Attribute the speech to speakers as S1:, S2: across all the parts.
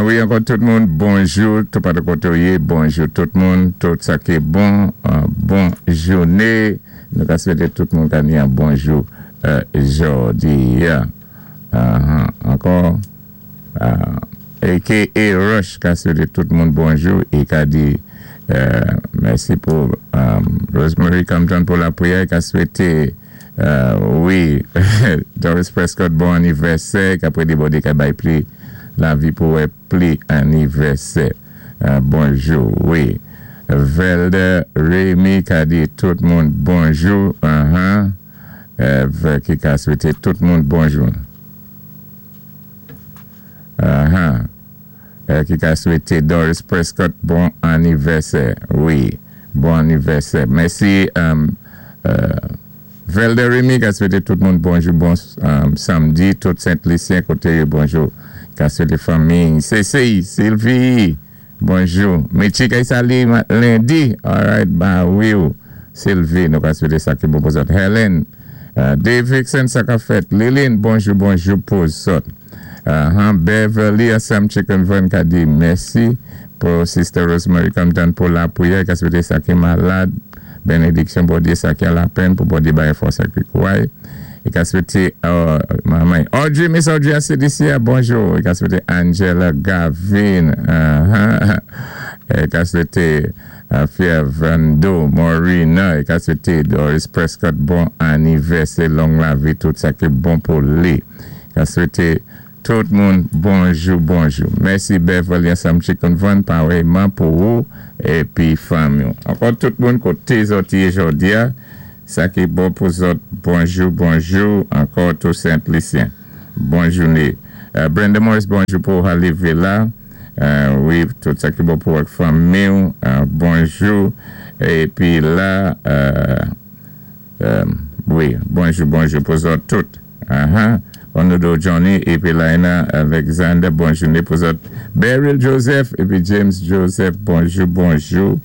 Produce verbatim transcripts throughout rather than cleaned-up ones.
S1: Wi, ankò tout moun, bonjou, tout pa koté ou yé, bonjou tout moun, tout sa ki bon, euh, bon jouné. Nou ka swété tout moun ka ni yon bonjou euh, jòdi. Uh-huh. Ankò, euh, A K A Rush ka swété tout moun bonjou é ka di euh, mèsi pou um, Rosemary Compton pou lapriyè, ka swété euh, wi, Doris Prescott bon anivèsè, ka pwé di Bondyé ka bay pli lavi pou wè pli anivèsè. Euh, bonjou, wi. Velder Remy ka di tout moun bonjou. Uh-huh. Euh, ki ka swété tout moun bonjou. Uh-huh. Euh, ki ka swété Doris Prescott bon anivèsè. Wi, bon anivèsè. Mèsi. Um, euh, Velder Remy ka swété tout moun bonjou, bon um, samdi, tout Sent-Lisyen koté bonjou. Ka swété fanmi. C C, Sylvie, bonjou. Michi ka sali lendi. All right, ba wi. Sylvie, nou ka swété sa ki bon pou zòt. Helen, uh, Dave Vixen sa ka fèt. Lilin, bonjou, bonjou pou zòt. Uh, Beverly Assam Chicken Van ka di mèsi pou Sister Rosemary Compton pou lapriyè, ka swété sa ki malad benediksyon Bondyé, sa ki an lapenn pou Bondyé bay fòs ak kouway. É ka swété uh, manman Audrey, Miss Audrey a C D C, bonjou. É ka swété Angela Gavin. uh-huh. É ka swété uh, Fiervando Morina. É ka swété Doris Prescott bon anivèsè, long lavi, tout sa ki bon pou li. Ka swété tout moun bonjou, bonjou. Mèsi Beverly Assam Chicken Van, parèyman pou ou épi fanmi. Ankò tout moun koté zòt yé jòdi a, sa ki bon pou zòt, bonjou, bonjou, ankò tout Sent-Lisyen. Bon jouné. Euh, Brenda Morris, bonjou pou Halle Villa. Euh, wi, tout sa ki bon pou ak fanmi. Euh, bonjou. Épi la, euh, euh, wi, bonjou, bonjou pou zòt tout. Uh-huh. Onodo Johnny épi Laina Alexander, bon jouné pou zòt. Beryl Joseph épi James Joseph, bonjou, bonjou.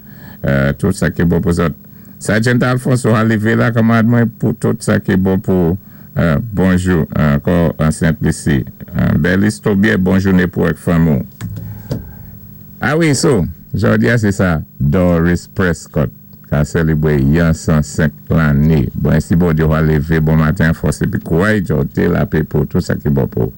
S1: Euh, tout sa ki bon pou zòt. Sergeant Alfonso Halle la, kanmad mwen, pou tout sa ki bon pou euh, bonjou, ankò an Sent-Lisi. Euh, Belis Tobier, bon jouné pou ak fanmi. A wi, so, jòdi a sé sa, Doris Prescott ka sélébwé yon san senk lanné. Bon, si Bondyé va lévé bon maten, fòs épi kouway, jòdi lapè pou tout sa ki bon pou.